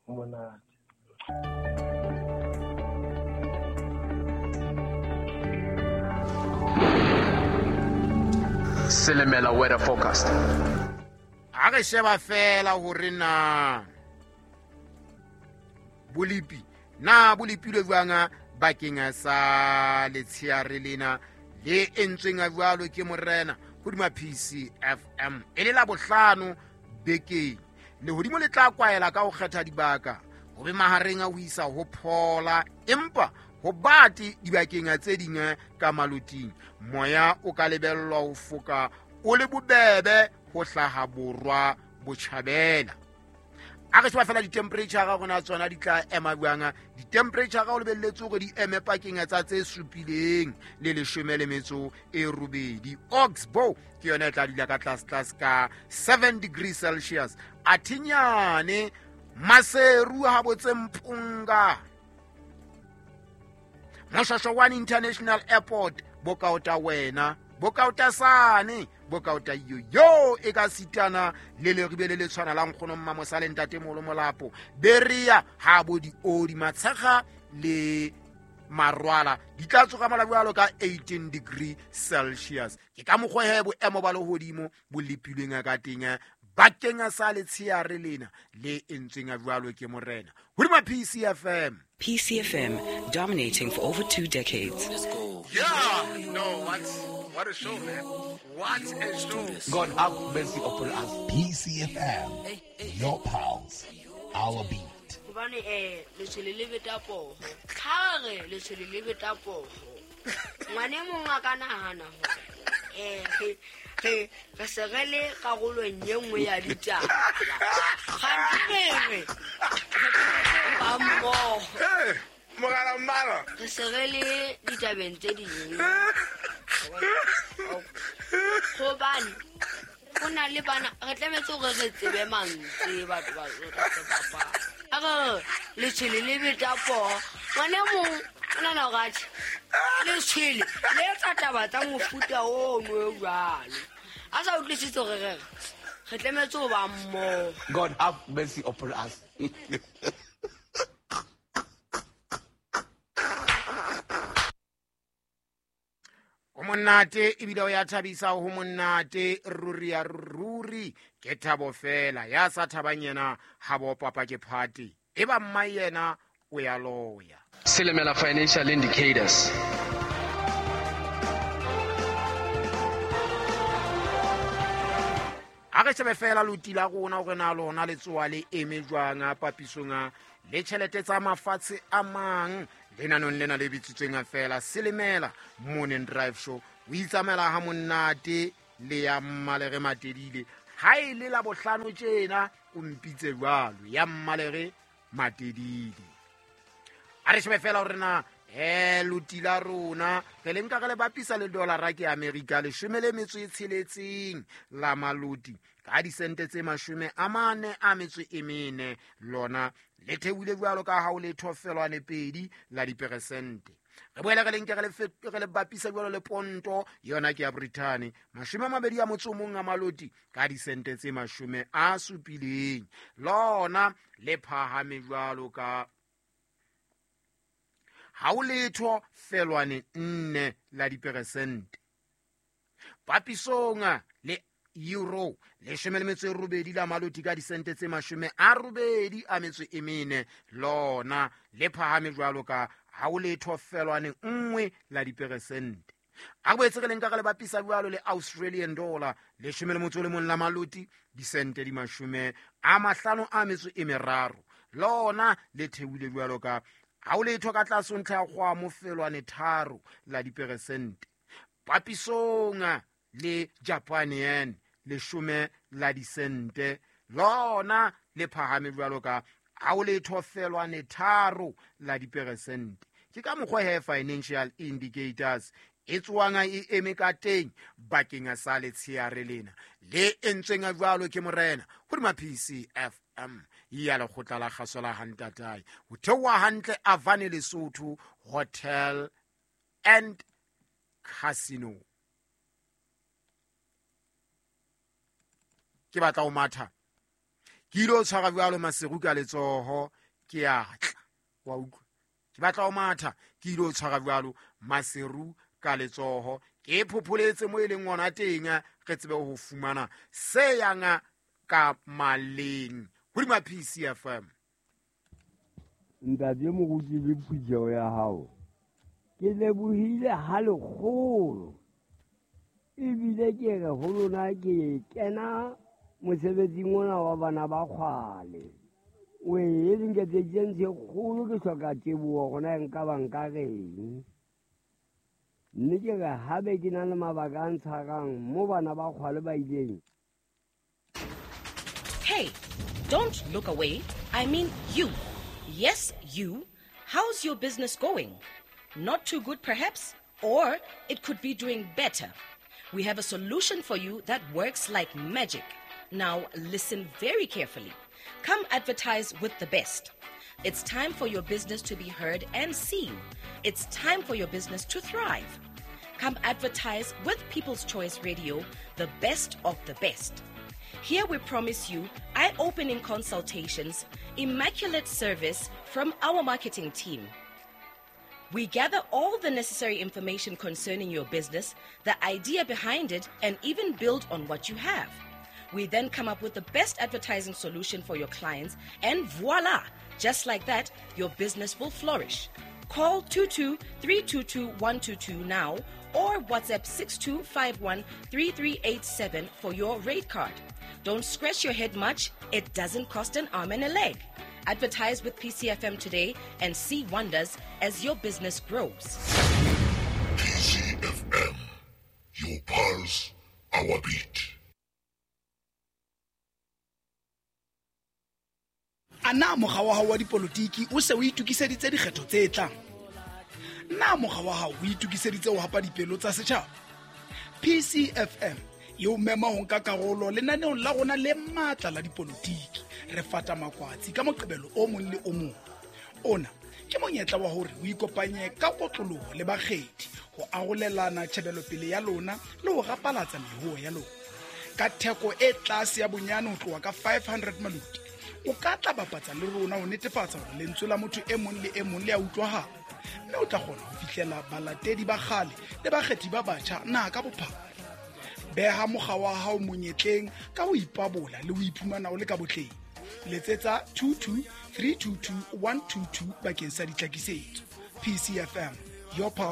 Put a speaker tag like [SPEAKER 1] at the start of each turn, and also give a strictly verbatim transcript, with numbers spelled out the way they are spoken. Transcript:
[SPEAKER 1] Monate.
[SPEAKER 2] Selemela weather forecast.
[SPEAKER 3] A re sheba fela hore na bolipi na bolipilwe jwang bakeng sa letsheare lena le entsweng jwalo ke morena hodima P C F M e le la bohlano bekeng. Lehodimo le tla kwaela ka ho kgetha dibaka ho be mahareng a ho isa ho phola, empa ho bate dibakeng tse ding ka maloting. Moya o ka lebellwa ho foka o le bobebe ho hlaha borwa botjhabela. A re sheba fela di-temperature ga rona tsona di tla ema jwang. Di-temperature ga o lebelletse hore di eme pakeng tsa tse supileng le leshome le metso e robedi. Oxbow ke yona e tla dula ka tlase tlase ka seven degrees Celsius. Athinyane Maseru ha botse Mpunga, Moshasha One International Airport bokaota wena bokaota sane bokaota yo yo e ka sitana le leribe le le tshwana la nkgono Mmamosale ntate Molo Molapo Beria ha bo di odi Matshega le Marwala di tla tsoga mala ka eighteen degree Celsius. Ke ka mokgwa he boemo ba lehodimo bo lepilweng ka teng bakeng sa letsheare lena le entsweng jwalo ke morena hodima P C F M.
[SPEAKER 4] P C F M, dominating for over two decades.
[SPEAKER 2] Let's go. Yeah, no, what, what a show, man. What a show.
[SPEAKER 5] God have mercy upon us.
[SPEAKER 6] P C F M, your pulse, our beat.
[SPEAKER 7] Hobane eh letshwele le beta poho. Ha re letshwele le beta poho. Ngwane mong a ka nahana hore eh re re se re le karolong e nngwe ya ditaba. Kganthe re ba mmoho.
[SPEAKER 2] Mogala mmala.
[SPEAKER 7] Re se re le ditabeng tse ding. Hobane ho na le bana re tlametse hore re tsebe mantswe batho ba re bapala. A re letshwele le beta poho. Ngwane mong o nahana hore atjhe letshwele le etsa taba tsa mofuta ono o jwalo. A sa utlwisise hore re re tlametse ho ba mmoho.
[SPEAKER 5] God have mercy upon us.
[SPEAKER 3] O monate ebile o ya thabisa ho monate ruri ya ruri ke thabo fela ya sa thabang yena ha bo papa ke party e ba mma yena o ya loya.
[SPEAKER 2] Selemela financial indicators.
[SPEAKER 3] A re shebe fela loti la rona hore na lona le tsoa le eme jwang papisong le tjhelete tsa mafatshe a mang. Lenanong lena le bitsitsweng fela Selemela Morning Drive Show. O itsamaela ha monate le ya Mmalere Matedile. Ha e le la bohlano tjena o mpitse jwalo ya Mmalere Matedile. A re shebe fela hore na eh loti la rona re le nka re le bapisa le dollar ke America leshome le metso e tsheletseng la maloti ka disente tse mashome a mane a metso e mene lona le theohile jwalo ka ha o le thofelwane pedi la diperesente. Re boela re le nke re le bapisa jwalo le ponto yona ke ya Britain mashome a mabedi a motso o mong a maloti ka disente tse mashome a supileng lona le phahame jwalo ka ha o letho felwane nne la diperesente. Papisong le euro leshome le metso e robedi la maloti ka disente tse mashome a robedi a metso e mene lona le phahame jwalo ka ha o letho felwane nngwe la diperesente. A boetse re le nka re le bapisa jwalo le Australian dollar leshome le motso le mong la maloti disente di mashome a mahlano a metso e meraro lona le theohile jwalo ka ha o letho ka tlase ntlha ya kgwamo felwane tharo la diperesente. Papisong le Japan yen leshome la disente lona le phahame jwalo ka ha o letho felwane tharo la diperesente. Ke ka mokgwa he financial indicators e tswang e eme ka teng bakeng sa letsheare lena le entsweng jwalo ke morena hodima P C F M ya lekgotla la kgaso la Hantatai ho theoha hantle Avane Lesotho Hotel and Casino. Ke batla ho matha ke ile o tshwara jwalo Maseru ka letsoho Ke a tla wa utlwa, ke batla ho matha ke ile ho tshwara jwalo Maseru ka letsoho, ke phopholetse mo e leng ona teng, re tsebe ho fumana se yang ka maleng hodima P C F M.
[SPEAKER 1] Ntate moruti le phutheho ya hao, ke lebohile ha lekgolo, ebile ke re ho lona ke kena mosebetsing ona wa bana ba kgwale. O e nketseditse ntho e kgolo, ke hloka teboho hore na nka ba nka reng. Mme ke re haebe ke na le mabaka a ntshwarang mo bana ba kgwale ba ileng.
[SPEAKER 8] Hey, don't look away. I mean you. Yes, you. How's your business going? Not too good, perhaps? Or it could be doing better. We have a solution for you that works like magic. Now, listen very carefully. Come advertise with the best. It's time for your business to be heard and seen. It's time for your business to thrive. Come advertise with People's Choice Radio, the best of the best. Here we promise you eye-opening consultations, immaculate service from our marketing team. We gather all the necessary information concerning your business, the idea behind it, and even build on what you have. We then come up with the best advertising solution for your clients, and voila! Just like that, your business will flourish. Call two two three two two one two two now or WhatsApp six two five one three three eight seven for your rate card. Don't scratch your head much. It doesn't cost an arm and a leg. Advertise with P C F M today and see wonders as your business grows.
[SPEAKER 6] P C F M, your pulse, our beat.
[SPEAKER 9] A na mokga wa hao wa dipolotiki o se o itokiseditse dikgetho tse tlang? Na mokga wa hao o itokiseditse ho hapa dipelo tsa setjhaba? P C F M e o mema ho nka karolo lenaneong la rona le matla la dipolotiki. Re fata makwatsi ka Moqebelo o mong le o mong. Ona ke monyetla wa hore o ikopanye ka kotloloho le bakgethi ho arolelana tjhebelopele ya lona le ho rapalatsa mehoho ya lona. Ka theko e tlase ya bonyane ho tloha ka five hundred maluti, o ka tla bapatsa le rona ho netefatsa hore lentswe la motho e mong le e mong le a utlwahala, mme o tla kgona ho fihlela balatedi ba kgale le bakgethi ba batjha naha ka bophara. Beha mokga wa hao monyetleng ka ho ipabola le ho iphumana o le ka botleng. Letsetsa two two three two two one two two bakeng sa ditlhakisetso. P C F M, your power.